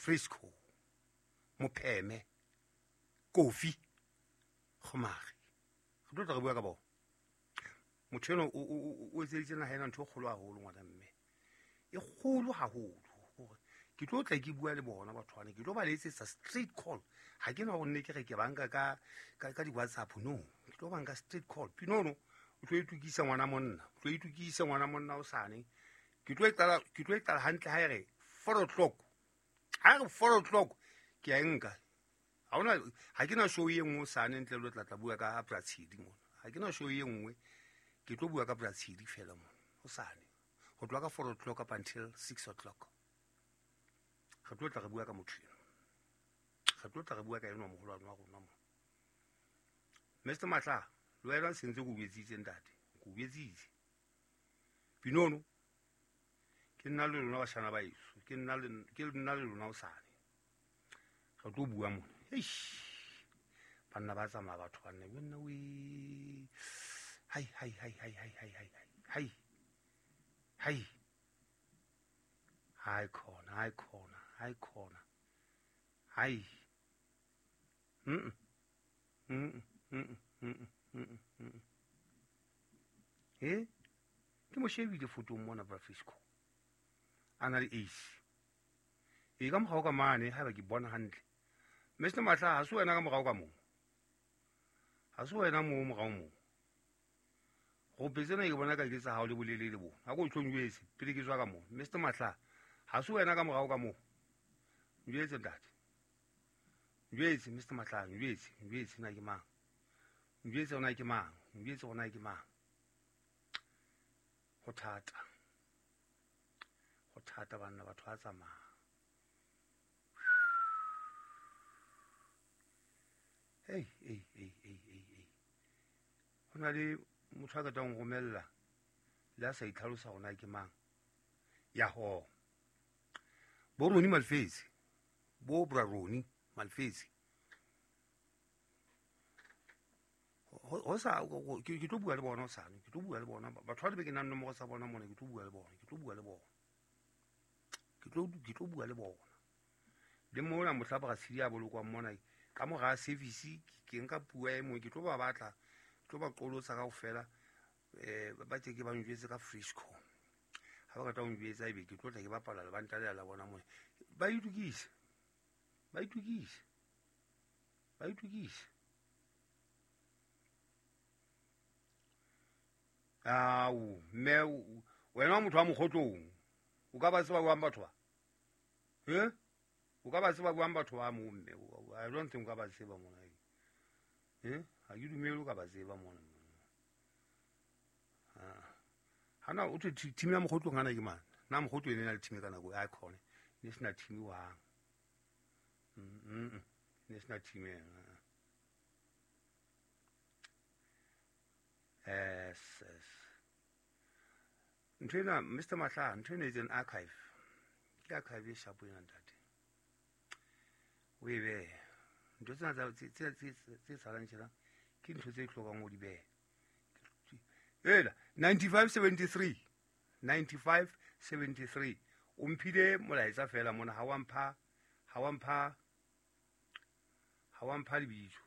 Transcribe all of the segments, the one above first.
Frisco, Mopheme, Kofi, Kgomare. Re tlo tla re bua ka bona. Motho eno o etseditse naha ena ntho e kgolo haholo, ngwana mme, e kgolo haholo. Hore ke tlo tla ke bua le bona batho bana, ke tlo ba letsetsa straight call. Ha ke na hore nne ke re ke banka ka di-WhatsApp, no, ke tlo banka straight call. Pinono o tlo itukisa, ngwana monna, o tlo itukisa, ngwana monna. O sane ke tlo e qala, ke tlo e qala hantle. Ha e re 4 o'clock, ha e re 4 o'clock, ke a e nka. Ha hona, ha ke na show e nngwe o sane ntle le tla bua ka Bratshedi mona. Ha ke na show e nngwe, ke tlo bua ka Bratshedi fela mona o sane, ho tloha ka 4 o'clock up until 6 o'clock. Re tlo tla re bua ka motho eno, re tlo tla re bua ka enwa moholwane wa rona mo, Mr Matla. Le wena sentse ke o jwetsitse, ntate, ke o jwetsitse. Pinono, ke nna le lona, bashana ba eso, ke nna le lona o sane. Re tlo bua mona. Eish, banna ba tsamaya, batho banna yo nna we. Hai hai hai hai hai hai hai hai hai hai, khona, hai khona, hai khona, hai. mm mm mm mm mm mm e ke mo shebile fotong mona, Brafisco a na le ace e ka mogao ka mane. Haeba ke bona hantle, Mr Matla, ha se wena ka morao ka moo? Ha se wena moo morao moo? Gope tsena ke bona ka ke tsa hao le bolelele bo. Ha ko tlo njwetse pele ke tswa ka moo. Mr Matla, ha se wena ka morao ka moo? Njwetse, ntate, njwetse. Mr Matla, njwetse, njwetse na ke mang, njwetse ona ke mang, njwetse ona ke mang. Ho thata, ho thata banna, batho ba tsamaya. Ei ei ei ei ei ei, ho na le motho a qetang ho romella le a sa itlhalosa hore na ke mang. Ya ho bo Roni Malfetse, bo bra Roni Malfetse, ho sa ke tlo bua le bona hosane, ke tlo bua le bona batho ba be ke nang nomoro tsa bona mona. Ke tlo bua le bona, ke tlo bua le bona, ke tlo bua le bona le mona mohla Bratshedi a bolokwang mona ka mora service. Ke nka puo e mong, ke tlo ba batla, ke tlo ba qolotsa kaofela. Ba ke ba njwetse ka Frisco. Ha ba qeta ho njwetsa, ebe ke tlo tla ke bapala lebanta le la bona mona. Ba itukise, ba itukise, ba itukise. Ao mme, wena wa motho wa Mokgotlong, o ka ba tseba jwang batho ba? E o ka ba tseba jwang batho ba moo, mme? I don't think o ka ba tseba mona. E ha ke dumele o ka ba tseba mona. Hana o thwe team ya Mokgotlong hana ke mang na? Mokgotlo e ne na le team ka nako ya khone, ne sena team wang, ne sena team ena. Yes, ntho ena, Mr Mahla, ntho ena is an archive, ke archive e shapo ena, ntate. O e behe ntho tsena tse salang tjena, ke ntho tse hlokang o di behe. Ela 95 73, 95 73, o mphile molaetsa fela mona. Ha wa mpha, ha wa mpha, ha wa mpha lebitso.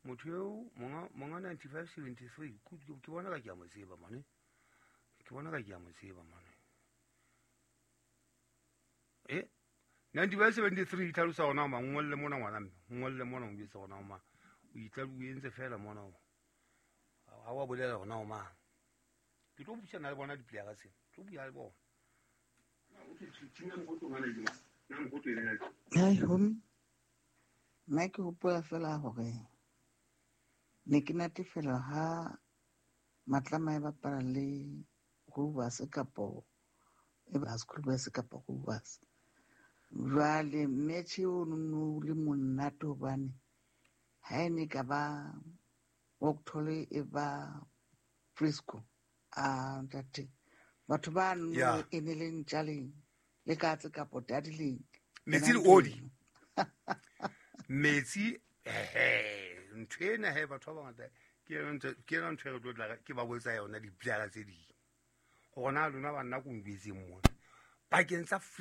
Motho eo monga 95 73, ke bona ka ke a mo tseba mane, ke bona ka ke a mo tseba mane. E 95 73 itlhalosa gona ma ngolle mona, ngwana mme, ngolle mona, o jwetse gona ma o itla o entse fela mona, o ha wa bolela gona o mang. Ke tlo buisana le bona diplayera tsena, ke tlo bua le bona. Hai homi, nna ke hopola fela hore ne ke natefelwa ha Matlama e bapala le Rovers kapo e ba School Bus kapo Rovers. Jwale match o no le monate hobane ha e ne ka ba Octole e ba Frisco, a ntate, batho ba no e ne le ntja leng le katse kapo tadi leng. Metsi le oli, metsi ehe. Ntho ena he, batho ba bangata, ke yona ntho e re tlo tla ke ba botsa yona diplayera tse ding, gore na lona banna ko njwetseng mona pakeng tsa